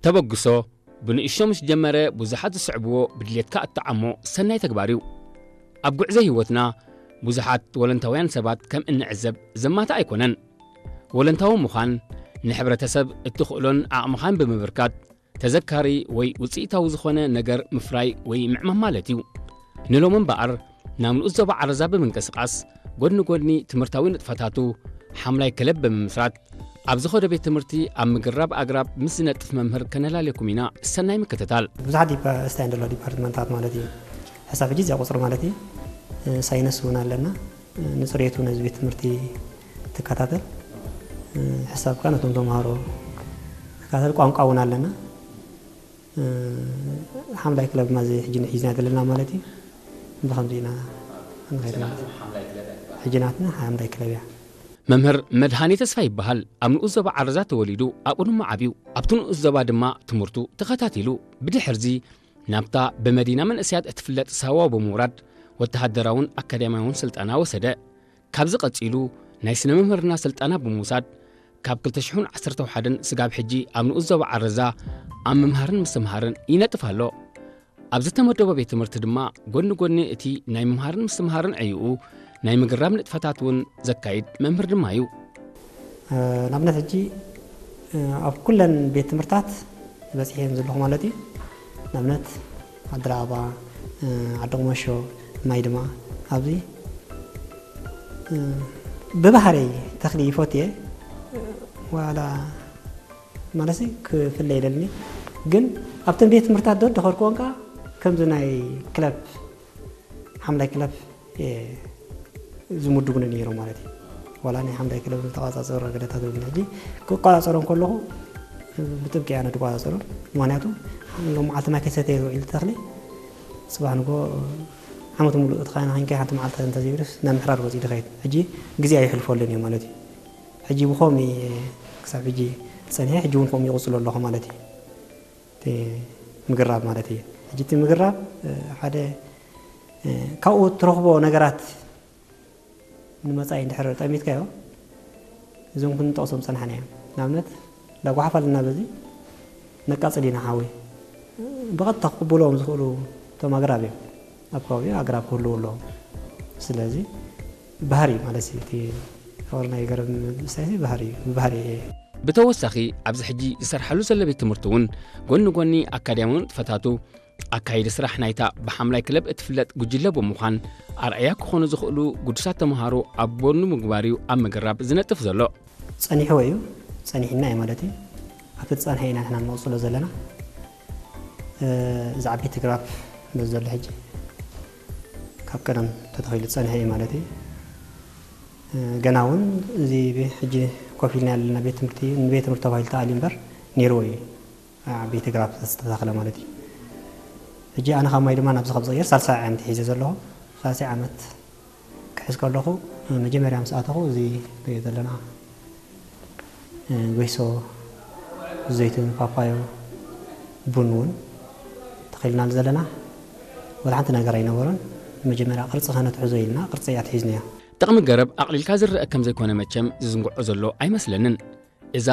ተበግሶ ብንእሽቶ ምስ ጀመረ ብዙሓት ዝስዕብዎ ብድሌትካ እትዓሞ ሰናይ ተግባር እዩ። ኣብ ጉዕዞ ህይወትና ብዙሓት ወለንታውያን ሰባት ከም እንዕዘብ ዘማታ ኣይኮነን። ወለንታዊ ምዃን ንሕብረተሰብ እትኽእሎን ዓቕምኻን ብምብርካት ተዘካሪ ወይ ውፅኢታዊ ዝኾነ ነገር ምፍራይ ወይ ምዕማም ማለት እዩ። ንሎሚ እምበኣር ናብ ንኡስ ዞባ ዓረዛ ብምንቅስቓስ ጎድኒ ጎድኒ ትምህርታዊ ንጥፈታቱ ሓምላይ ክለብ ብምምስራት ኣብ ዝኾዶ ቤት ትምህርቲ ኣብ ምግርራብ ኣግራብ ምስ ዝነጥፍ መምህር ከነላልየኩም ኢና። ሰናይ ምክትታል። ብዙሓት ዲፓ-፣ ስታይ ዘሎ ዲፓርትመንታት ማለት እዩ። ሕሳብ ሕጂ እዚኣ ቁፅሪ ማለት እዩ። ሳይንስ እውን ኣለና። ንፅሬቱ ነዚ ቤት ትምህርቲ ትከታተል። ሕሳብ ከኣ ነቶም ተምሃሮ ትከታተል። ቋንቋ እውን ኣለና። ሓምላይ ክለብ ማዚ ሕጂ ንሒዝና ዘለና ማለት እዩ። ብኸምዚ ኢና ንኸይድ ማለት እዩ። ሕጂ ናትና ሓምላይ ክለብ እያ። መምህር መድሃኔ ተስፋ ይበሃል። ኣብ ንኡስ ዞባ ዓረዛ ተወሊዱ ኣብኡ ድማ ዓብዩ። ኣብቲ ንኡስ ዞባ ድማ ትምህርቱ ተኸታቲሉ። ብድሕርዚ ናብታ ብመዲና መንእሰያት እትፍለጥ ሳዋ ብምውራድ ወተሃደራውን ኣካዳሚያውን ስልጠና ወሰደ። ካብዚ ቀጺሉ ናይ ስነ መምህርና ስልጠና ብምውሳድ ካብ ክልተ ሽሕን ዓሰርተ ሓደን ስጋብ ሕጂ ኣብ ንኡስ ዞባ ዓረዛ ኣብ ምምሃርን ምስትምሃርን ይነጥፍ ኣሎ። ኣብ ዝተመደቦ ቤት ትምህርቲ ድማ ጎኒ ጎኒ እቲ ናይ ምምሃርን ምስትምሃርን ዕይኡ ናይ ምግርራብ ንጥፈታት እውን ዘካይድ መምህር ድማ እዩ። ንኣብነት ሕጂ ኣብ ኩለን ቤት ትምህርታት በፂሐ እየን ዘለኹ ማለት እዩ። ንኣብነት ዓዲ ራእባ፣ ዓዲ ቁመሾ፣ ማይ ድማ ኣብዚ ብባህረይ ተኽሊ ይፈትየ ዋላ ማለት ክፍለ ይደልኒ። ግን ኣብተን ቤት ትምህርታት ዶ ደኸርክወን ከዓ ከምዚ ናይ ክለብ፣ ሓምላይ ክለብ ዝምድቡኒ ነይሮም ማለት እዩ። ዋላ ናይ ሓምላይ ክለብ ዝተቋፃፀሩ ኣገዳታት እውን ሕጂ ክቆፃፀሮም ከለኹ ብጥብቂ ኣነ ዝቆፃፀሮም። ምክንያቱ ሎም መዓልቲ ማይ ከይሰተየ ዝውዒል ተኽሊ ፅባሕ ንጎ ዓመት ሙሉእ እቲ ካይና ኮይንካ ሓንቲ መዓልቲ እንተዘይብልስ ናብ ምሕራር ወፂኡ ድኸይድ። ሕጂ ግዜ ኣይሕልፈሉን እዩ ማለት እዩ። ሕጂ ብኸምኡ ክሳብ ሕጂ ፀኒሐ፣ ሕጂ እውን ከምኡ ይቕፅሎ ኣለኹ ማለት እዩ። እቲ ምግራብ ማለት እዩ። ሕጂ እቲ ምግራብ ሓደ ካብኡ ትረኽቦ ነገራት ንመጻኢ እንድሕር ጠሚትካዮ እዞም ክንጠቕሶም ዝጸናሕና እዮም። ንኣብነት ላጓሓፍ ኣለና፣ በዚ ነቃጽል ኢና ሓዊ። ብቐጥታ ክቕበልዎም ዝኽእሉ እቶም ኣግራብ እዮም። ኣብ ከባቢኡ ኣግራብ ክህልዉ ኣለዎም። ስለዚ ባህሪ ማለት እዩ፣ እቲ ፍቕሪ ናይ ገረብ ምስታይ ባህሪ እዩ፣ ብባህሪ እየ። ብተወሳኺ ኣብዚ ሕጂ ዝሰርሓሉ ዘሎ ቤት ትምህርቲ እውን ጎኒ ጎኒ ኣካዳሚያዊ ንጥፈታቱ ኣካይዲ ስራሕ ናይታ ብሓምላይ ክለብ እትፍለጥ ጉጅለ ብምዃን ኣርኣያ ክኾኑ ዝኽእሉ ግዱሳት ተምሃሮ ኣብ ጎኑ ምግባር እዩ ኣብ ምግራብ ዝነጥፍ ዘሎ። ጸኒሕዎ እዩ፣ ጸኒሕና እዩ ማለት እዩ። ኣብቲ ዝጸንሐ ኢና ንሕና ንቕጽሎ ዘለና። እዚ ዓበይቲ ግራፍ በዚ ዘሎ ሕጂ ካብ ቀደም ተተኺሉ ዝጸንሐ እዩ ማለት እዩ። ገና እውን እዚ ቤ-፣ ሕጂ ኮፍ ኢልና ያለና ቤት ትምህርቲ ንቤት ትምህርቲ ተባሂሉ ተኣልዩ እምበር ነይርዎ እዩ። ዓበይቲ ግራፍ ዝተተኽለ ማለት እዩ። ሕጂ ኣነ ካብ ማይ ድማ ናብዚ ካብ ዝቕየር ሳልሳይ ዓመት ሒዘ ዘለኹ። ሳልሳይ ዓመት ክሕዝ ከለኹ መጀመርያ ምስ ኣተኹ እዚ ንሪኦ ዘለና ጎይሶ፣ ዘይትን፣ ፓፓዮ፣ ቡን እውን ተኺልናሉ ዘለና። ወላ ሓንቲ ነገር ኣይነበሮን። መጀመርያ ቅርጺ ከነትሕዞ ኢልና ቅርጺ እያ ትሒዝናያ። ጥቕሚ ገረብ ኣቕሊልካ ዝረአ ከም ዘይኮነ መቸም ዝዝንግዖ ዘሎ ኣይመስለንን። እዛ